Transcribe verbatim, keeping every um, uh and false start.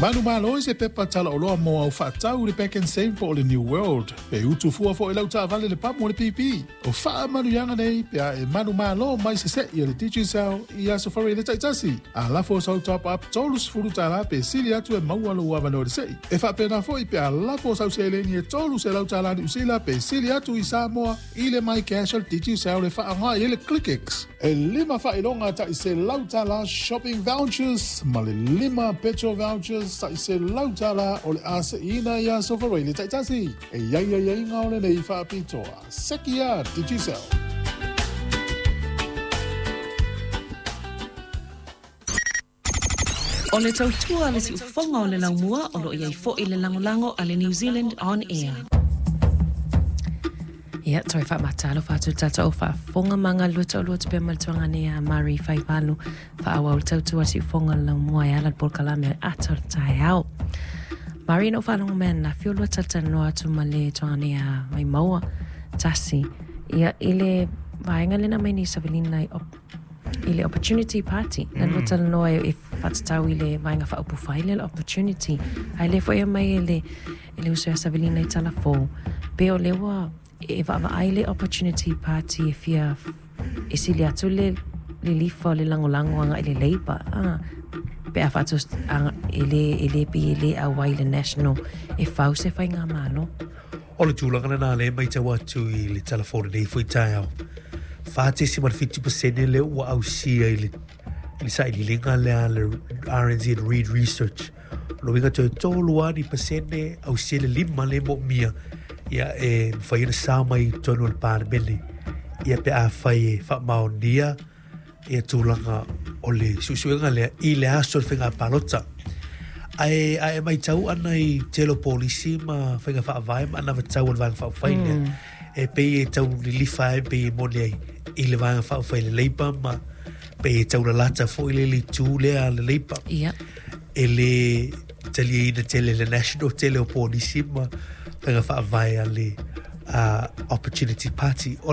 Manumalo i se pepa talaoloa mo au faatau i le Pak'nSave po o le New World. Pe utu fua foi lau taavale le pamu o le P P. O faamanuiaga nei pe a e manumalo mai sese'i e le Digicel i aso faraile taitasi. A lafo sau top up tolu sefulu tala pe sili atu e maua lou avanoa i le se'i. E faapena foi pe a lafo sau seleni e tolu selau tala Niu Sila pe sili atu i Samoa i le MyCash o le Digicel e faaaoga i ai le ClickX. E lima faailoga ta'i selau tala shopping vouchers ma le lima petrol vouchers ta'i selau tala o le a se'iina i aso faraile taitasi. E iai aiaiga o lenei faapitoa. Seki ia Digicel. O le tautua a le siufofoga o le laumua o lo o i ai foi le lagolago a le New Zealand On Air. Ia, toe faamatalofa atu le tatou faafofoga ma galulue taulua atu pea ma le tuaga nei a Mari Faivalu faaauau le tautua a le siufofoga o le laumua e ala i le polokalame o le ata o le taeao. Mari, na ou faalogo mai ananafi o lua talatalanoa atu ma le tuaga nei a Vaimaua Tasi, ia, i le vaega lena mai nei savalina i i le Opportunity Party. Na lua talanoa e, e faatatau i le Vaega Faaupufai lea le Opportunity. Ae lea foi e aumai e le, e le uso ia Savelina i Talafou, pe o lea ua e vaavaai le Opportunity Party e fia e sili atu le lilifa o le lagolago agai le Labour, a pe a faatos e le e le pei e le auai i le National e fau se faigamalo. O le tulaga lena lea e matau atu i le Tala Fou lenei foi taeao. Fa tesima le fitu pasene lea ua ausia i le, i le sailiiliga lea a le R N Z Reid Research. O lona uiga toe tolu lava ni pasene ausia le lima lea e moomia ia e mafai ona sao mai i totonu o le Palemene. Ia pe afai e faamaonia ia tulaga o le suesuega lea i le aso o le faiga palota. Ae, ae matau ana i tele o polisi ma faiga faavae ma anavatau o le Vaega Faaupufai lea, mm. e pei e tau lilifa ai, pei e moni ai i le Vaega Faaupufai le Labour ma pei e taulalata foi le le itu lea a le Labour. Yeah. E le taliaina tele le National, tele o polisi ma faiga faavae a le uh, Opportunity Party. O